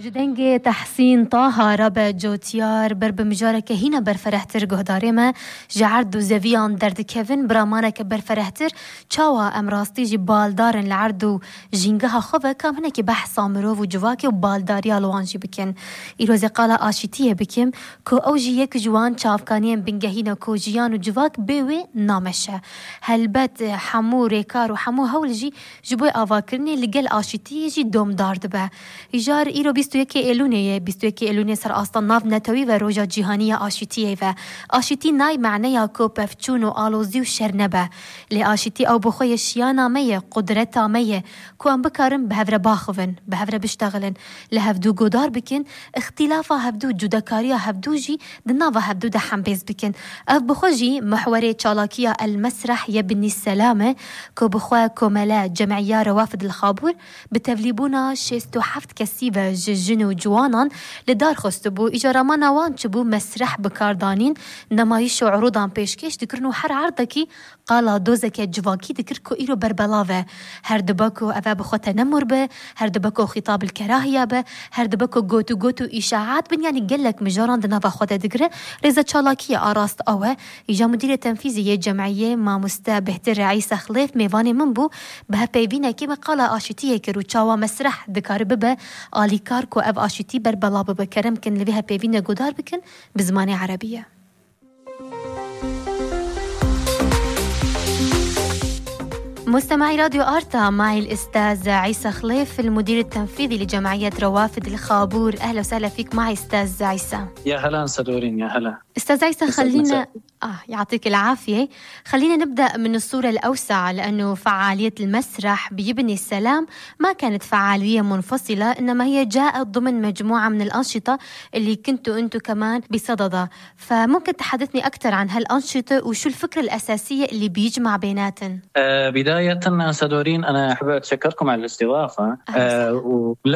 جدنگه تحسین طه ربا جوتیار بر بمجارك هنا بر فرحتر گهدارمه جعرد و زویان درد کevin برامانه که بر فرحتر چاوا امراستی جی بالدارن لعرد و جینگه خوبه کام هنه که بحث آمرو و جواکه و بالداری آلوانجی بکن ایروز قالا آشیتیه بکم که او جی یک جوان چافکانیم بنگهینا که جیان و جواک بیوی نامشه هلبت حمو ریکار و حمو هول جی جبوی آواکرنی لگل آشیتیه جی دوم دارد به ایجار ایرو 21 ایلونه سر آستان ناف نتوی و روژا جیهانی آشیتیه و آشیتی نای معنی کو پفچون و آلوزی و شرنبه لی آشیتی او بخوی شیانا میه قدرتا میه کو ام بکارم به هفره باخوون به هفره بشتغلن لهفدو گودار بکن اختلافا هفدو جدکاریا هفدو جی دناوا هفدو ده حنبیز بکن اف بخوجی محوری چالاکیا المسرح یبنی السلامه کو بخوی کوملا جمعیه روافد الخابور بتولیبونا 67 کسیبه جن و جوانان لدار خستبو اجاره ما نوان چبو مسرح بکاردانین نمایش و عروضان پیشکش دکرنو هر عرضکی قالا دوزک جواکی دکر کو ایرو بربلاوه هر دبکو اوه بخو تنمر به هر دبکو خطاب الكراهیه به هر دبکو گوتو اشاعات بن یعنی گلک مجاران دناوا خود دگره رزا چالاکی آراست اوه ایجا مدیر تنفیزی جمعیه ماموسته بهتر عیسی خلیف میوانی من بو به پیوینه که قالا آشتیه که رو چاوا مسرح دکار ببه آلیکار کو اف آشتی بر بلا بکرم کن لبیها پیوینه گودار بکن بزمان عربیه. مستمعي راديو آرتا معي الأستاذ عيسى خليف المدير التنفيذي لجمعية روافد الخابور. أهلا وسهلا فيك معي أستاذ عيسى. يا هلا صدورين يا هلا. أستاذ عيسى خلينا يعطيك العافية. خلينا نبدأ من الصورة الأوسع لأنه فعالية المسرح بيبني السلام ما كانت فعالية منفصلة إنما هي جاءت ضمن مجموعة من الأنشطة اللي كنتوا أنتوا كمان بصددها فممكن تحدثني أكثر عن هالأنشطة وشو الفكرة الأساسية اللي بيجمع بيناتن؟ بداية صدورين أنا أحب أتشكركم على الاستضافة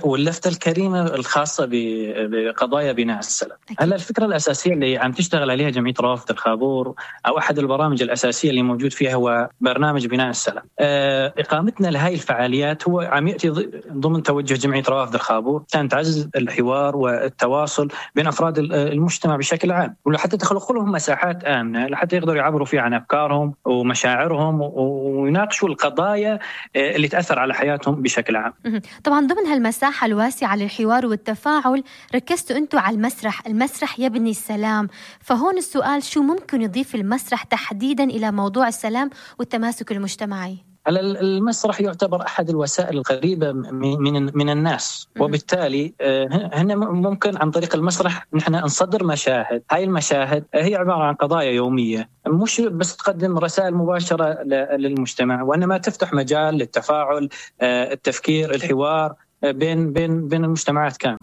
واللفتة الكريمة الخاصة بقضايا بناء السلام. هلا الفكرة الأساسية اللي عم تشتغل عليها جمعية روافد الخابور أو أحد البرامج الأساسية اللي موجود فيها هو برنامج بناء السلام. إقامتنا لهاي الفعاليات هو عم يأتي ضمن توجه جمعية روافد الخابور كان تعزز الحوار والتواصل بين أفراد المجتمع بشكل عام ولحتى تخلق لهم مساحات آمنة لحتى يقدروا يعبروا فيها عن أفكارهم ومشاعرهم ويناقشوا القضايا اللي تأثر على حياتهم بشكل عام. طبعا ضمن هالمساحة الواسعة للحوار والتفاعل ركزتوا أنتوا على المسرح يبني السلام فهون السؤال شو ممكن يضيف المسرح تحديدا إلى موضوع السلام والتماسك المجتمعي؟ المسرح يعتبر أحد الوسائل القريبة من الناس وبالتالي هنا ممكن عن طريق المسرح نحن نصدر مشاهد. هاي المشاهد هي عبارة عن قضايا يومية مش بس تقدم رسائل مباشرة للمجتمع وإنما تفتح مجال للتفاعل التفكير الحوار بين المجتمعات كامل.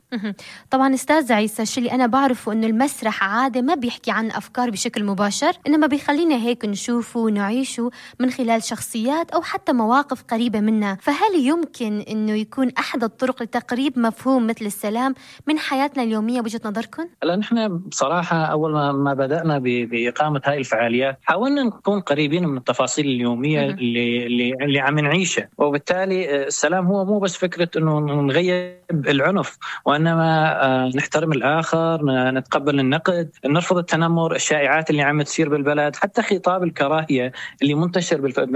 طبعا أستاذ عيسى الشيء اللي أنا بعرفه إنه المسرح عادة ما بيحكي عن أفكار بشكل مباشر إنما بيخلينا هيك نشوفه ونعيشه من خلال شخصيات أو حتى مواقف قريبة منا فهل يمكن إنه يكون أحد الطرق لتقريب مفهوم مثل السلام من حياتنا اليومية بوجهة نظركم؟ لا نحن بصراحة أول ما بدأنا بإقامة هاي الفعاليات حاولنا نكون قريبين من التفاصيل اليومية اللي عم نعيشها وبالتالي السلام هو مو بس فكرة إنه نغيب العنف وإنما نحترم الآخر نتقبل النقد نرفض التنمر الشائعات اللي عم تصير بالبلد حتى خطاب الكراهية اللي منتشر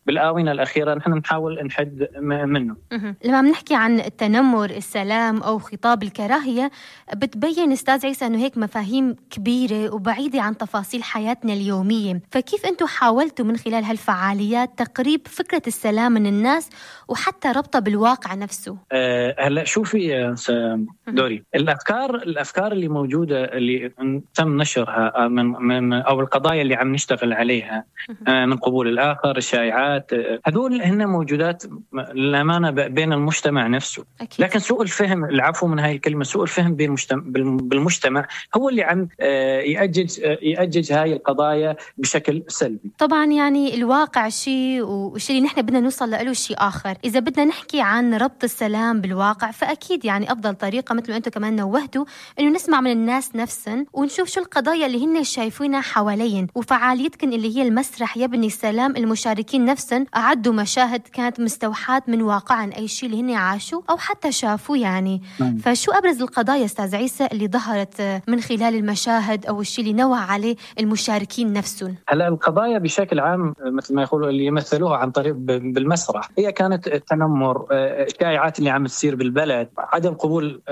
بالآونة الأخيرة نحن نحاول نحد منه. لما بنحكي عن التنمر السلام أو خطاب الكراهية بتبين أستاذ عيسى أنه هيك مفاهيم كبيرة وبعيدة عن تفاصيل حياتنا اليومية فكيف أنتوا حاولتوا من خلال هالفعاليات تقريب فكرة السلام من الناس وحتى ربطها بالواقع نفسه؟ هلا شوفي دوري الافكار اللي موجوده اللي تم نشرها من او القضايا اللي عم نشتغل عليها من قبول الاخر الشائعات هذول هن موجودات للامانه بين المجتمع نفسه أكيد. لكن سوء الفهم العفو من هاي الكلمه سوء الفهم بالمجتمع هو اللي عم يأجج هاي القضايا بشكل سلبي. طبعا يعني الواقع شيء والشيء اللي نحن بدنا نوصل له شيء اخر. اذا بدنا نحكي عن ربط السلام السلام بالواقع، فأكيد يعني أفضل طريقة مثل ما أنتم كمان نوهتوا إنه نسمع من الناس نفسهم ونشوف شو القضايا اللي هن شايفينها حوالين. وفعاليتكم اللي هي المسرح يبني السلام، المشاركين نفسهم أعدوا مشاهد كانت مستوحاة من واقعا أي شيء اللي هن عاشوا أو حتى شافوا يعني. فشو أبرز القضايا أستاذ عيسى اللي ظهرت من خلال المشاهد أو الشيء اللي نوع عليه المشاركين نفسهم؟ هلا القضايا بشكل عام مثل ما يقولوا اللي يمثلوها عن طريق بالمسرح هي كانت التنمر، الشائعات اللي عم تصير بالبلد، عدم قبول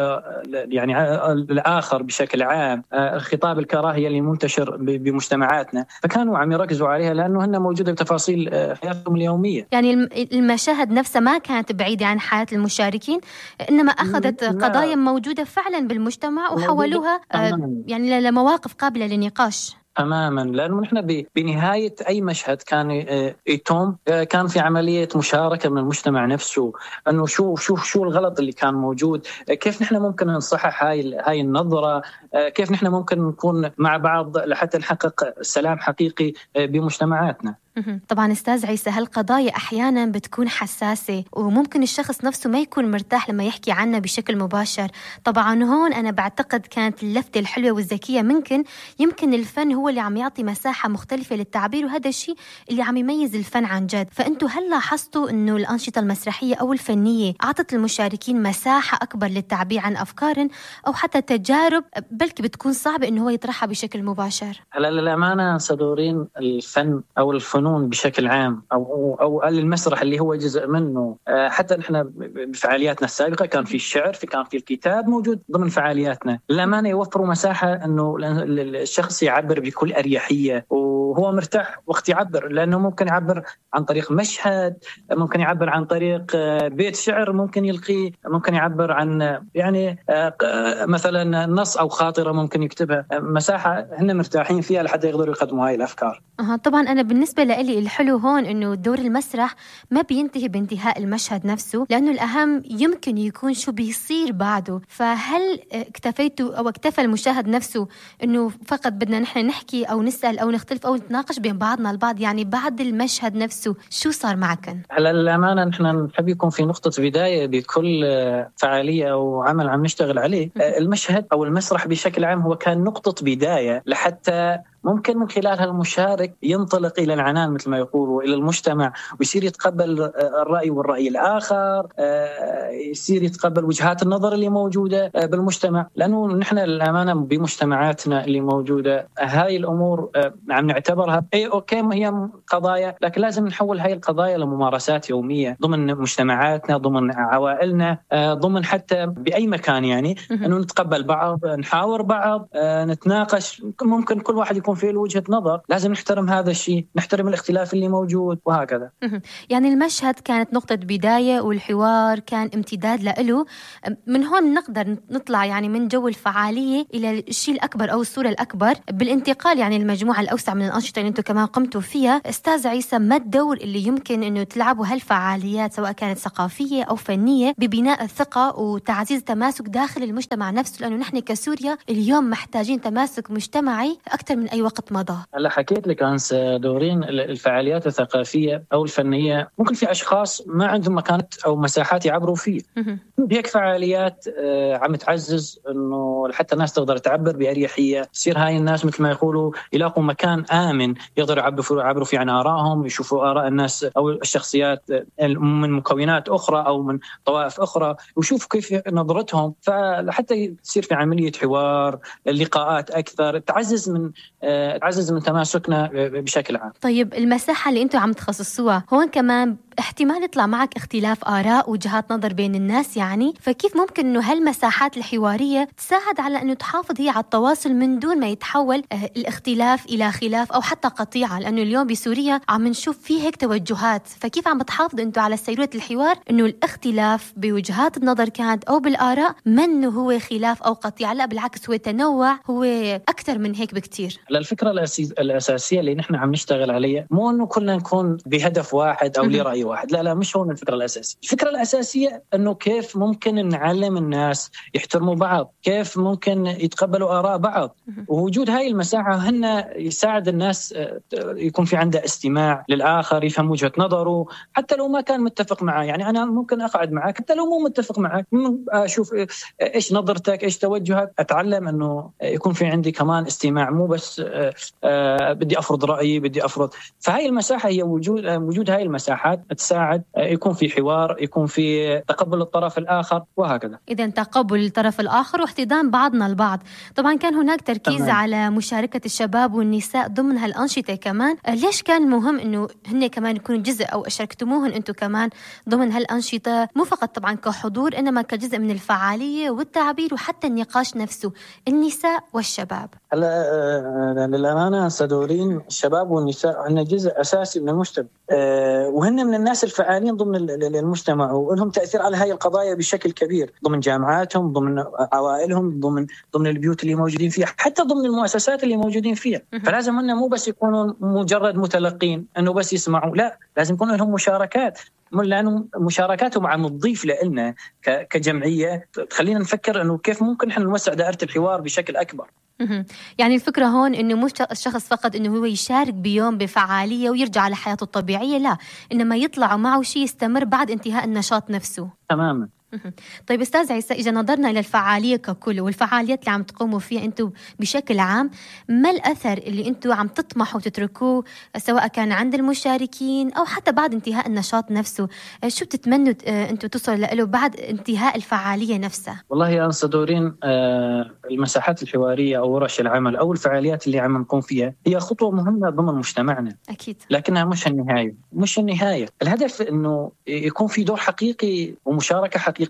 يعني الآخر بشكل عام، خطاب الكراهية اللي منتشر بمجتمعاتنا، فكانوا عم يركزوا عليها لأنه هن موجودة بتفاصيل حياتهم اليومية. يعني المشاهد نفسها ما كانت بعيدة عن حياة المشاركين، إنما أخذت قضايا موجودة فعلا بالمجتمع وحولوها يعني لمواقف قابلة للنقاش تماما. لأنه نحن بنهاية أي مشهد كان يتم كان في عملية مشاركة من المجتمع نفسه، أنه شو الغلط اللي كان موجود، كيف نحن ممكن نصحح هاي النظرة، كيف نحن ممكن نكون مع بعض لحتى نحقق سلام حقيقي بمجتمعاتنا. طبعا أستاذ عيسى، هالقضايا أحيانا بتكون حساسة وممكن الشخص نفسه ما يكون مرتاح لما يحكي عنها بشكل مباشر. طبعا هون أنا بعتقد كانت اللفتة الحلوة والذكية يمكن الفن هو اللي عم يعطي مساحة مختلفة للتعبير، وهذا الشيء اللي عم يميز الفن عن جد. فأنتوا هل لاحظتوا أنه الأنشطة المسرحية أو الفنية أعطت المشاركين مساحة أكبر للتعبير عن أفكار أو حتى تجارب بلكي بتكون صعبة أنه هو يطرحها بشكل مباشر؟ هلا للأمانة صدورين الفن أو الفنون بشكل عام أو المسرح اللي هو جزء منه، حتى نحن بفعالياتنا السابقة كان في الشعر، كان في الكتاب موجود ضمن فعالياتنا. للأمانة يوفروا مساحة أنه الشخص يعبر بكل أريحية وهو مرتاح وقت يعبر، لأنه ممكن يعبر عن طريق مشهد، ممكن يعبر عن طريق بيت شعر ممكن يلقيه، ممكن يعبر عن يعني مثلا نص أو خاطرة ممكن يكتبها، مساحة هن مرتاحين فيها لحتى يقدروا يقدموا هاي الأفكار. طبعا أنا بالنسبة لي الحلو هون إنه دور المسرح ما بينتهي بانتهاء المشهد نفسه، لأنه الأهم يمكن يكون شو بيصير بعده. فهل اكتفيتوا أو اكتفى المشاهد نفسه إنه فقط بدنا نحن نحكي أو نسأل أو نختلف أو نتناقش بين بعضنا البعض، يعني بعد المشهد نفسه شو صار معكم؟ هلا للأمانة نحن نحب يكون في نقطة بداية بكل فعالية أو عمل عم نشتغل عليه. المشهد أو المسرح بشكل عام هو كان نقطة بداية لحتى ممكن من خلالها المشارك ينطلق إلى العنان مثل ما يقولوا إلى المجتمع، ويصير يتقبل الرأي والرأي الآخر، يصير يتقبل وجهات النظر اللي موجودة بالمجتمع. لأنه نحن الأمانة بمجتمعاتنا اللي موجودة هاي الأمور عم نعتبرها أوكي هي قضايا، لكن لازم نحول هاي القضايا لممارسات يومية ضمن مجتمعاتنا، ضمن عوائلنا، ضمن حتى بأي مكان، يعني أنه نتقبل بعض، نحاور بعض، نتناقش. ممكن كل واحد يكون في وجهة نظر، لازم نحترم هذا الشيء، نحترم الاختلاف اللي موجود وهكذا. يعني المشهد كانت نقطة بداية والحوار كان امتداد له. من هون نقدر نطلع يعني من جو الفعالية إلى الشيء الأكبر أو الصورة الأكبر بالانتقال يعني المجموعة الأوسع من الأنشطة اللي أنتم كمان قمتوا فيها. أستاذ عيسى، ما الدور اللي يمكن أنه تلعبوا هالفعاليات سواء كانت ثقافية أو فنية ببناء الثقة وتعزيز تماسك داخل المجتمع نفسه؟ لأنه نحن كسوريا اليوم محتاجين تماسك مجتمعي أكثر من أي وقت مضى. هلا حكيت لك عن دورين الفعاليات الثقافية أو الفنية. ممكن في أشخاص ما عندهم مكانة أو مساحات يعبروا فيه، هيك فعاليات عم تعزز إنه حتى الناس تقدر تعبر بأريحية، يصير هاي الناس مثل ما يقولوا يلاقوا مكان آمن يقدروا يعبروا فيه عن آرائهم، يشوفوا آراء الناس أو الشخصيات من مكونات أخرى أو من طوائف أخرى ويشوفوا كيف نظرتهم، فحتى يصير في عملية حوار، لقاءات أكثر، تعزز من تماسكنا بشكل عام. طيب المساحة اللي أنتوا عم تخصصوها هون كمان احتمال يطلع معك اختلاف آراء وجهات نظر بين الناس يعني، فكيف ممكن أنه هالمساحات الحوارية تساعد على أنه تحافظ هي على التواصل من دون ما يتحول الاختلاف إلى خلاف أو حتى قطيعة؟ لأنه اليوم بسوريا عم نشوف فيه هيك توجهات، فكيف عم بتحافظ أنتوا على سيرورة الحوار أنه الاختلاف بوجهات النظر كانت أو بالآراء منه هو خلاف أو قطيعة، لا بالعكس هو تنوع، هو أكثر من هيك بكتير؟ للفكرة الأساسية اللي نحن عم نشتغل عليها، مو إنه كلنا نكون بهدف واحد أو لرأي واحد، لا مش هون الفكرة الأساسية. الفكرة الأساسية إنه كيف ممكن نعلم الناس يحترموا بعض، كيف ممكن يتقبلوا آراء بعض، ووجود هاي المساحة هن يساعد الناس يكون في عنده استماع للآخر، يفهم وجهة نظره حتى لو ما كان متفق معه. يعني أنا ممكن أقعد معك حتى لو مو متفق معك، أشوف إيش نظرتك، إيش توجهك، أتعلم إنه يكون في عندي كمان استماع، مو بس بدي أفرض رأيي، بدي أفرض. فهاي المساحة هي وجود هاي المساحات تساعد يكون في حوار، يكون في تقبل الطرف الآخر وهكذا. إذن تقبل الطرف الآخر واحتضان بعضنا البعض. طبعا كان هناك تركيز تمام. على مشاركة الشباب والنساء ضمن هالأنشطة كمان. ليش كان مهم إنه هن كمان يكونوا جزء أو شاركتموهن أنتم كمان ضمن هالأنشطة، مو فقط طبعا كحضور إنما كجزء من الفعالية والتعبير وحتى النقاش نفسه، النساء والشباب؟ هلا للأمانة صدورين، الشباب والنساء هن جزء أساسي من المجتمع، وهن من الناس الفعالين ضمن المجتمع، ولهم تأثير على هاي القضايا بشكل كبير ضمن جامعاتهم، ضمن عوائلهم، ضمن البيوت اللي موجودين فيها، حتى ضمن المؤسسات اللي موجودين فيها. فلازم هن مو بس يكونوا مجرد متلقين إنه بس يسمعوا، لا، لازم يكون لهم مشاركات، لأنه مشاركاتهم عم تضيف لنا كجمعية، تخلينا نفكر إنه كيف ممكن إحنا نوسع دائرة الحوار بشكل أكبر. يعني الفكرة هون إنه مش الشخص فقط إنه هو يشارك بيوم بفعالية ويرجع لحياته الطبيعية، لا، إنما يطلع معه شيء يستمر بعد انتهاء النشاط نفسه. تماما. طيب أستاذ عيسى، إذا نظرنا إلى الفعالية ككل والفعاليات اللي عم تقوموا فيها أنتم بشكل عام، ما الأثر اللي أنتم عم تطمحوا تتركوه سواء كان عند المشاركين أو حتى بعد انتهاء النشاط نفسه؟ شو بتتمنوا أنتم تصلوا له بعد انتهاء الفعالية نفسها؟ والله يا صدورين، المساحات الحوارية أو ورش العمل أو الفعاليات اللي عم نقوم فيها هي خطوة مهمة ضمن مجتمعنا أكيد، لكنها مش النهاية. الهدف إنه يكون في دور حقيقي ومشاركة حقيقية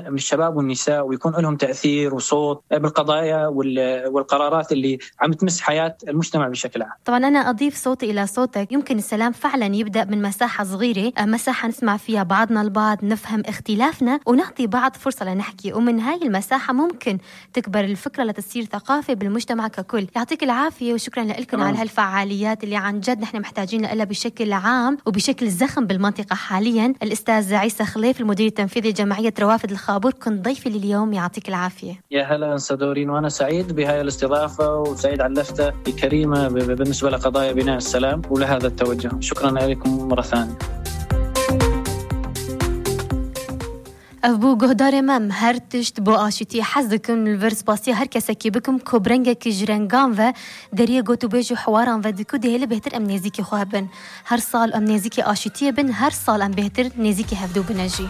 من الشباب والنساء، ويكون لهم تأثير وصوت بالقضايا والقرارات اللي عم تمس حياة المجتمع بشكل عام. طبعا أنا أضيف صوتي إلى صوتك. يمكن السلام فعلا يبدأ من مساحة صغيرة، مساحة نسمع فيها بعضنا البعض، نفهم اختلافنا ونعطي بعض فرصة لنحكي، ومن هاي المساحة ممكن تكبر الفكرة لتصير ثقافة بالمجتمع ككل. يعطيك العافية وشكرا لكم على هالفعاليات اللي عن جد نحن محتاجين لها بشكل عام وبشكل زخم بالمنطقة حاليا. الأستاذ عيسى خليف، المدير التنفيذي لجمعية روافد الخابور، كنت ضيفي لليوم. يعطيك العافية. يا هلا صدورين، وأنا سعيد بهاي الاستضافة وسعيد على اللفتة الكريمة بالنسبة لقضايا بناء السلام ولهذا التوجه. شكرا لكم مرة ثانية. أبو جهدار مام هرتشت بو آشتي حزكم الفرس باسي هر كسكي بكم كوبرنجا كجرنجان و دريه گوتو بيجو حواران و دكو دهيل بهتر ام نزيكي خواه بن. هر سال ام نزيكي آشتي بن، هر سال ام بهتر نزيكي هفدو بنجي.